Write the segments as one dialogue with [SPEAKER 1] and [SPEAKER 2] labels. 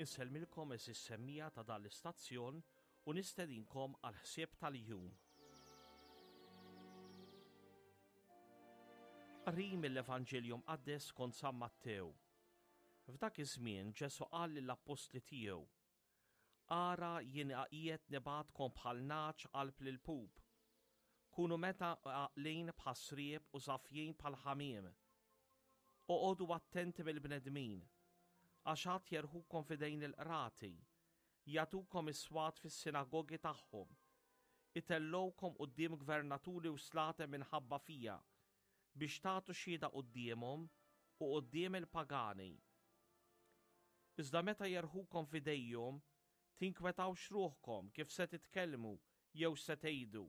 [SPEAKER 1] Insellmilkom eżis semmija ta' dan l-istazzjon u nistedinkom għal ħsieb tal-jum. Qri mill-Evanġelju Mqaddes kont San Mattew. F'dak iż-żmien Ġesù qal lill-appostli tiegħu, Ara jien qiegħed nibgħatkom bħal nagħaġ qalb l-ilpup. Kunu meta għaqlin bħas-sriep u safjin bħal ħamiem. Oqogħdu attenti mill-bnedmin, għax għad jerħukom f'idejn il-qrati, jagħtukom is-swat fis-sinagogi tagħhom, itellgħukom quddiem gvernaturi u slaten minħabba fija, biex tagħtu xhieda quddiemhom u quddiem il-pagani. Iżda meta jerħukom f'idejhom, tinkwetawx ruħkom kif se titkellmu jew x'se tgħidu,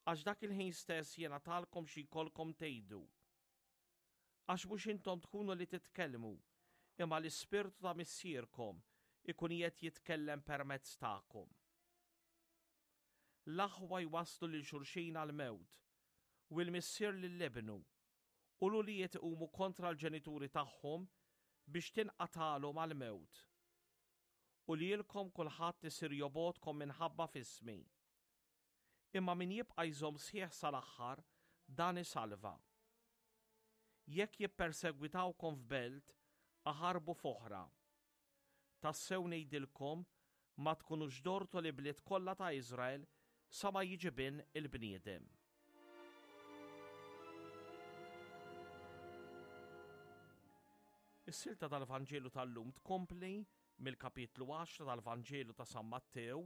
[SPEAKER 1] għax dak il-ħin stess jingħatalkom xi jkollkom tgħidu. Għax mhux intom tkunu li titkellmu, imma l-Ispirtu ta' Missierkom ikun qiegħed jitkellem permezz tagħkom. L-aħwa jwasslu lil xulxin għall-mewt, u l-missier lil ibnu, u l-ulied iqumu kontra l-ġenituri tagħhom biex tinqatagħlhom għall-mewt. U lilkom kulħadd isir jobgħodkom minħabba f'ismi. Imma min jibqa' jżomm sħiħ sal-aħħar, dan isalva. Jekk jippersegwitawkom f'belt, aħarbu f'oħra. Tassew ngħidilkom, ma tkunux dortu l-ibliet kollha ta' Iżrael sa ma jiġi Bin il-bniedem. Is-silta tal-Vanġelu tal-lum tkompli mill-kapitlu 10 tal-Vanġelu ta' San Mattew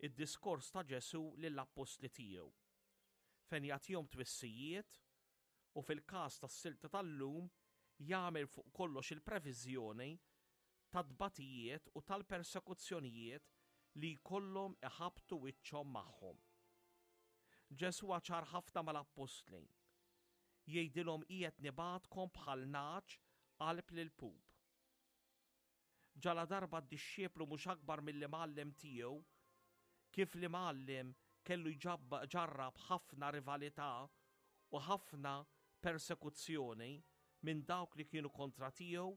[SPEAKER 1] id-diskors ta' Ġesù lill-appostli tiegħu, fejn jagħtihom twissijiet u fil-każ tas-silta tal-lum jagħmel fuq kollox il-previżjoni tat-tbatijiet u tal-persekuzzjonijiet li jkollhom iħabbtu wiċċhom magħhom. Ġesù ċar ħafna mal-appostli. Jgħidilhom qiegħed nibgħatkom bħal nagħaġ qalb l-ilpup. Ġaladarba d-dixxiplu mhux akbar mill-imgħallem tiegħu, kif l-imgħallem kellu jġarrab ħafna rivalità u ħafna persekuzzjoni minn dawk li kienu kontra tiegħu,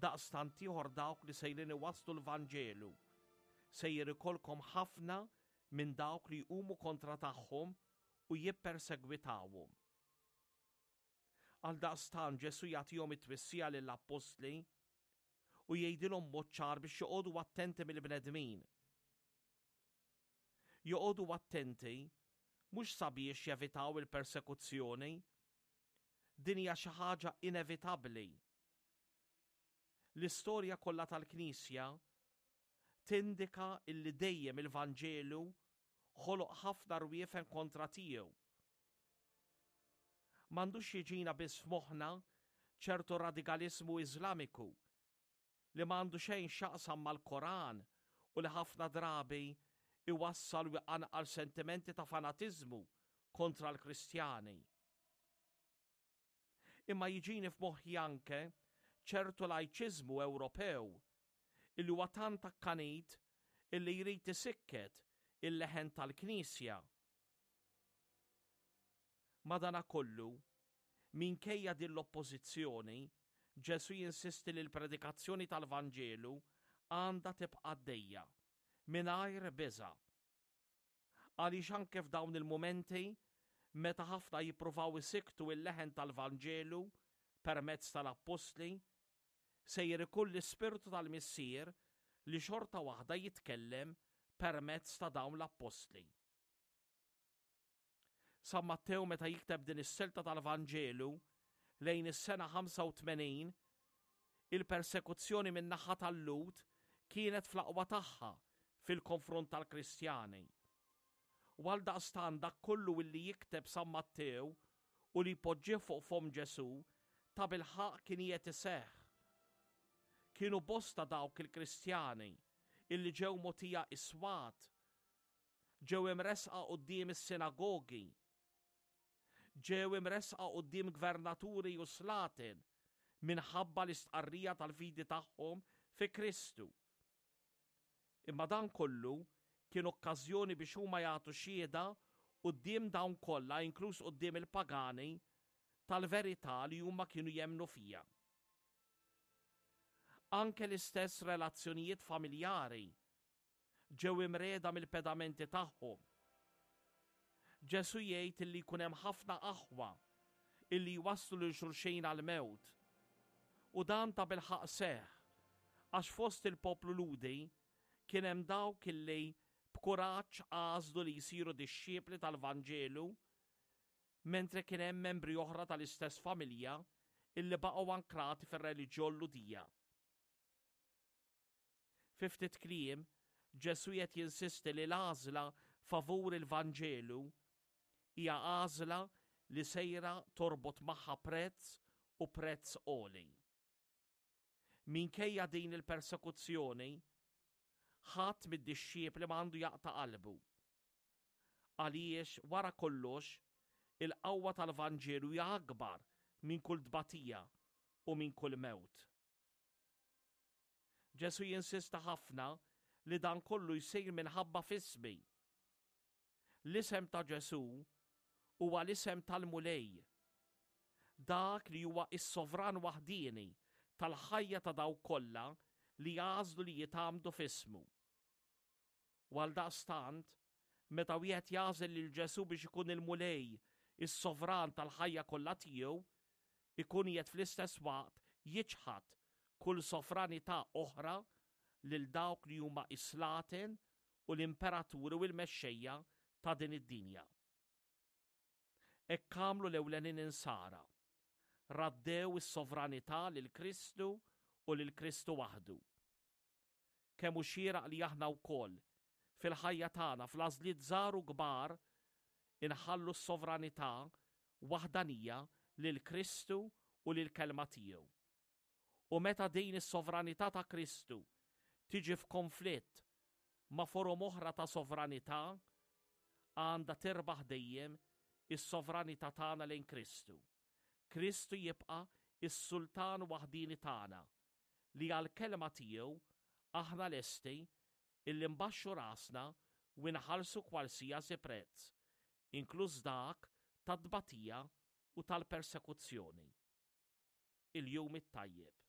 [SPEAKER 1] daqstant ieħor dawk li sejrin iwasslu l-Vanġelu, sejjer ikollkom ħafna minn dawk li jqumu kontra tagħhom u jippersegwitawhom. Għaldaqstant Ġesù jagħtihom it-twissija lill-appostli u jgħidilhom mod ċar biex joqogħdu attenti mill-bnedmin. Joqogħdu attenti mhux sabiex jevitaw il-persekuzzjoni. Din hija xi ħaġa inevitabbli. L-istorja kollha tal-Knisja tindika illi dejjem il-Vanġelu ħoloq ħafna rwiefen kontra tiegħu. M'għandux jiġina biss f'moħħna ċertu radikaliżmu Iżlamiku li m'għandu xejn x'jaqsam mal-Koran u li ħafna drabi iwassal u jqanqal sentimenti ta' fanatiżmu kontra l-Kristjani. Imma jiġini f'moħħi anke ċertu lajċiżmu Ewropew illi huwa tant akkanit illi jrid isikket il-leħen tal-Knisja. Madanakollu, minkejja din l-oppożizzjoni, Ġesù jinsisti li l-predikazzjoni tal-Vanġelu għandha tibqa' għaddejja, mingħajr biża'. Għaliex anke f'dawn il-mumenti, meta ħafna jippruvaw isikktu l-leħen tal-Vanġelu permezz tal-appostli, sejjer ikun l-Ispirtu tal-Missier li xorta waħda jitkellem permezz ta' dawn l-appostli. San Mattew meta jikteb din is-silta tal-Vanġelu lejn is-sena 85, il-persekuzzjoni min-naħa tal-Lhud kienet fl-aqwa tagħha fil-konfront tal-Kristjani. U għaldaqstant dak kollu illi jikteb San Mattew u li jpoġġih fuq fomm Ġesù tabilħaqq kien qiegħed iseħħ. Kienu bosta dawk il-Kristjani illi ġew mogħtija iswat Ġew imressqa quddiem is-sinagogi. Ġew imressqa quddiem gvernaturi u slaten minħabba l-istqarrija tal-fidi tagħhom fi Kristu. Imma dan kollu kien okkażjoni biex huma jagħtu xhieda quddiem dawn kollha, inkluż quddiem il-pagani, tal-verità li huma kienu jemmnu fiha. Anke l-istess relazzjonijiet familjari ġew imriegħda mill-pedamenti tagħhom. Ġesù jgħid illi jkun hemm ħafna aħwa illi jwasslu lil xulxin għall-mewt. U dan tabilħaqq seħħ għax fost il-poplu Lhudi kien hemm dawk illi b'kuraġġ għażlu li jsiru dixxipli tal-Vanġelu mentre kien hemm membri oħra tal-istess familja illi baqgħu ankrati fir-reliġjon Lhudija. Fi ftit kliem, Ġesù qed jinsisti li l-għażla favur il-Vanġelu hija għażla li sejra torbot magħha prezz u prezz għoli. Minkejja din il-persekuzzjoni, ħadd mid-dixxiepli ma għandu jaqta' qalbu. Għaliex wara kollox, il-qawwa tal-Vanġelu hija akbar minn kull tbatija u minn kull mewt. Ġesù jinsista ħafna li dan kollu jsir minħabba f'ismi. L-isem ta' Ġesù huwa l-isem tal-Mulej, dak li huwa s-sovran waħdieni tal-ħajja ta' dawk kollha li jagħżlu li jitgħammdu f'ismu. U għaldaqstant, meta wieħed jagħżel lil Ġesù biex ikun il-Mulej, is-sovran tal-ħajja kollha tiegħu, ikun qiegħed fl-istess waqt jiċħad kull sovranità oħra lil dawk li huma s-slaten u l-imperaturi u l-mexxejja ta' din id-dinja. Hekk għamlu l-ewlenin insara. Raddew is-sovranità lil Kristu u lil Kristu waħdu. Kemm hu xieraq li aħna wkoll, fil-ħajja tagħna, fl-għażliet żgħar u kbar, inħallu s-sovranità waħdanija lil Kristu u lill-Kelma tiegħu. U meta din is-sovranità ta' Kristu tiġi f'konflitt ma' forom oħra ta' sovranità, għandha tirbaħ dejjem is-sovranità tagħna lejn Kristu. Kristu jibqa' s-Sultan waħdieni tagħna, li għall-kelma tiegħu aħna lesti illi nbaxxu rasna u nħallsu kwalsiasi prezz, inkluż dak tat-tbatija u tal-persekuzzjoni. Il-Jum it-Tajjeb.